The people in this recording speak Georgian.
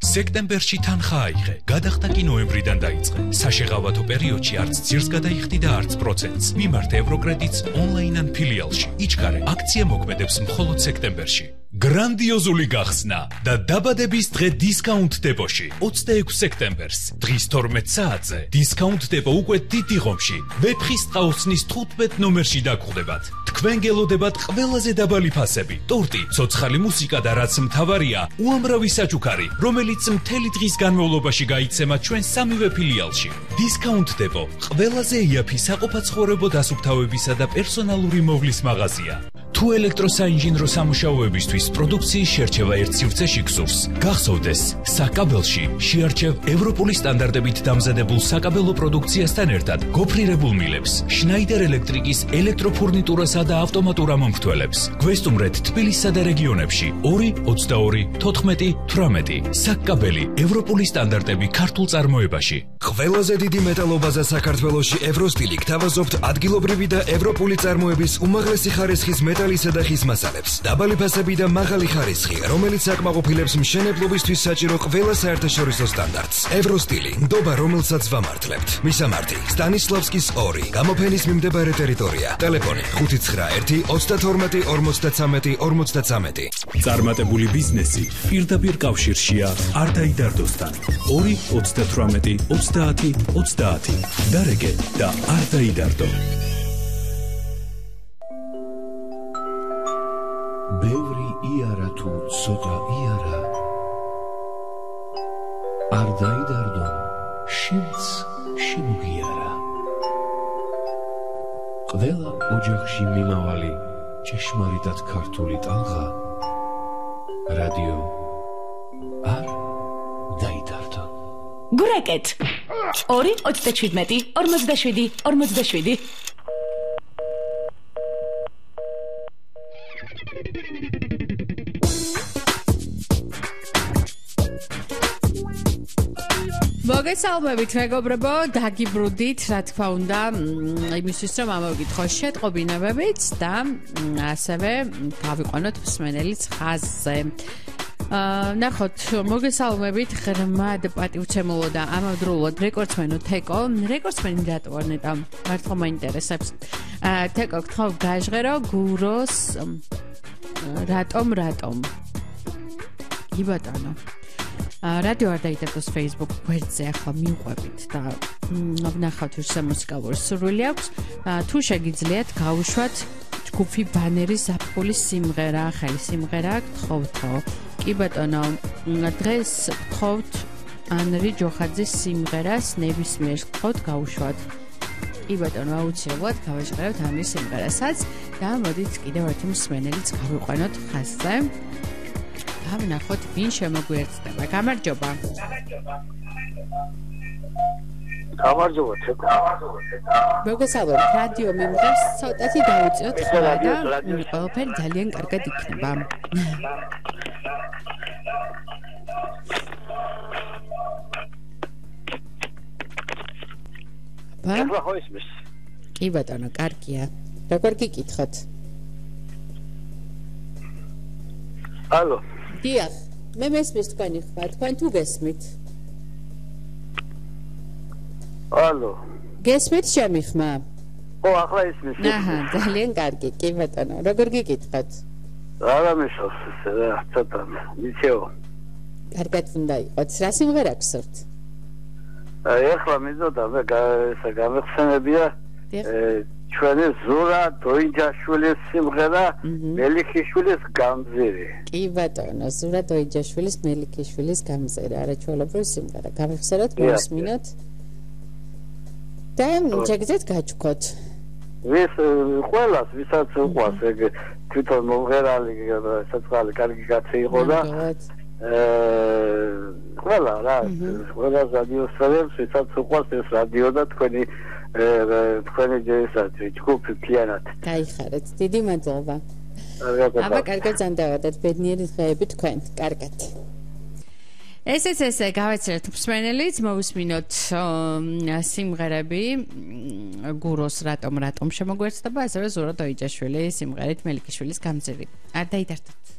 სექტემბერში თანხა აიღე, გადახდა კი ნოემბრიდან დაიწყე. საშეღავათო პერიოდში არც ძირს გადაიხდი და არც პროცენტს. მიმართ ევროკრედიტს ონლაინ ან ფილიალში. იჩქარე, აქცია მოქმედებს მხოლოდ სექტემბერში. გრანდიოზული გახსნა და დაბადების დღე დისკაუნტ დეპოში 26 სექტემბერს დღის 12 საათზე დისკაუნტ დეპო უკვე დიდი ღომში ვეფხის ტყაოსნის 15 ნომერში დაგხვდებათ. თქვენ გელოდებათ ყველაზე დაბალი ფასები, ტორტი, ცოცხალი მუსიკა და რაც მთავარია, უამრავი საჩუქარი, რომელიც მთელი დღის განმავლობაში გაიცემა ჩვენ სამივე ფილიალში. დისკაუნტ დეპო ყველაზე იაფი საყოფაცხოვრებო დასუფთავებისა და პერსონალური მოვლის მაღაზია. თუ ელექტროსაინჟინრო სამუშაოებისთვის პროდუქციის შერჩევა ერთ სივრცეში გსურს, გახსოვდეს, საკაბელში შეარჩევ ევროპული სტანდარტებით დამზადებულ საკაბელო პროდუქციასთან ერთად გოფრირებულ მილებს, შნაიდერ ელექტრიკის ელექტროფურნიტურასა და ავტომატურ ამომრთველებს. გვესტუმრეთ თბილისსა და რეგიონებში 2 22 14 18. საკაბელი ევროპული სტანდარტები ქართულ წარმოებაში. ყველაზე დიდი მეტალობაზა საქართველოში ევროსტილი გთავაზობთ ადგილობრივი და ევროპული წარმოების უმაღლესი ხარისხის მეტალისა და ხის მასალებს. დაბალი ფასები და მაღალი ხარისხი, რომელიც აკმაყოფილებს მშენებლობისთვის საჭირო ყველა საერთაშორისო სტანდარტს. ევროსტილი, ნდობა, რომელსაც ვამართლებთ. მისამართი: სტანისლავსკის 2, გამოფენის მიმდებარე ტერიტორია. ტელეფონი: 591 32 53 53. წარმატებული ბიზნესი პირდაპირ კავშირშია არ დაიდარდოსთან. 2 38 30 30. დარეგე და არ დაიდარდო. ბევრი იარა თუ ცოტა იარა არ დაიდარდო, შენც შემოგიარა. ყველა ოჯახში მიმავალი ჭეშმარიტად ქართული ტალღა რადიო არ დაიდარდო. გურეკეთ 2 27 47 47. მოგესალმებით მეგობრებო, დაგიბრუნდით, რა თქმა უნდა, იმისთვის რომ ამოვიკითხო შეტყობინებებით და ასევე გავიყვანოთ მსმენელის ხაზზე. ნახოთ, მოგესალმებით, ღრმად პატივცემულო და ამავდროულად რეკორდსმენო თეკო. რეკორდსმენი რატო არ ნეტა? მართლა მაინტერესებს. თეკო, გთხოვ გაჟღერო გუროს რატომ? კი ბატონო. რადიო არ დაიდარდოს Facebook გვერდზე ახლა მივყვებით და ვნახავთ რუსა მუსიკალური სურვილი აქვს. თუ შეგიძლიათ გავუშვათ ჯგუფი ბანერის ზაფხულის სიმღერა, ახალი სიმღერა გთხოვთო. კი ბატონო, დღეს გთხოვთ ანრი ჯოხაძის სიმღერას ნებისმიერს გთხოვთ გავუშვათ. კი ბატონო, აუცილებლად გავაჟღერებთ ამის სიმღერასაც და მოდით კიდევ ერთი მსმენელიც გავიყვანოთ ხაზზე. ვნახოთ ვინ შემოგვიერთდება. გამარჯობა. გამარჯობა თეკო. მოგესალმებით, რადიო მიმღებს ცოტათი დაუწიოთ ხმა და ყველაფერი ძალიან კარგად იქნება. ახლა ხო ისმის? კი ბატონო, კარგია. როგორ გიკითხოთ? ალო. დიახ, მე მესმის თქვენი ხმა, თქვენ თუ გესმით? ალო. გესმით ჩემი ხმა? ხო, ახლა ისმის. აჰა, ძალიან კარგი, კი ბატონო. როგორ გიკითხოთ? არა მიშავს, ცოტა მიცეო. კარგად უნდა იყოს. რა სიმღერა გსურთ? ახლა მიზოდა მე გამეხსენებია ჩვენი ზურა დოიჯაშვილის სიმღერა მელიქიშვილის გამზირი. კი ბატონო, ზურა დოიჯაშვილის მელიქიშვილის გამზირი, არაჩვეულებრივი სიმღერა. გამიხსენოთ, მოვისმინოთ. და შეგიძლიათ გაჩვქოთ. ყველას, ვისაც უყვარს ეგ თვითონ მომღერალი, საწყალი კარგი კაცი იყო და ყველა რა, ყველა რადიოსწორებს, ვისაც უყვარს ეს რადიო და თქვენი ჯგუფი მთლიანად. გაიხარეთ, დიდი მადლობა. აბა კარგად ზანდავადეთ ბედნიერი დღეები თქვენ. კარგად. ესეც გავეცერეთ მსმენელიც, მოვისმინოთ სიმღერები გუროს რატომ შემოგვერთდება, ასევე ზურა დოიჯაშვილის სიმღერით მელიქიშვილის გამზირი. არ დაიდარდოთ.